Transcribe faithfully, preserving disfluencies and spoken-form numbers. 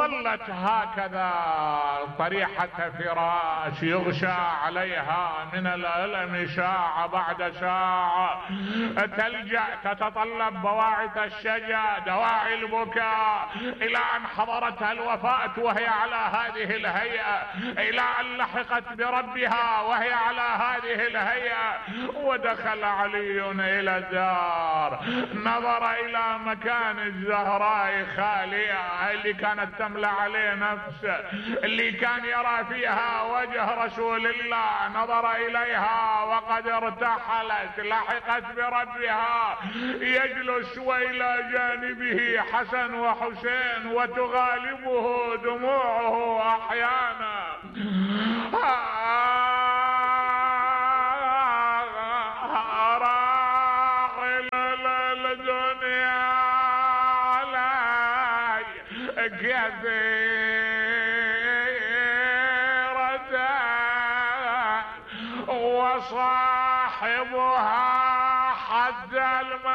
ظلت هكذا طريحة فراش يغشى عليها من الألم ساعة بعد ساعة، تلجأ تتطلب بواعث الشجا دواعي البكاء، إلى أن حضرتها الوفاة وهي على هذه الهيئة، إلى أن لحقت بربها وهي على هذه الهيئة. ودخل علي إلى الدار، نظر إلى مكان الزهراء خالية اللي كانت تملأ عليه نفسه، اللي كان يرى فيها وجه رسول الله، نظر إليها وقد ارتحلت لحقت بربها. يجلس وإلى جانبه حسن وحسين وتغالبه دموعه أحيانا. كثيرة وصاحبها حتى الموت.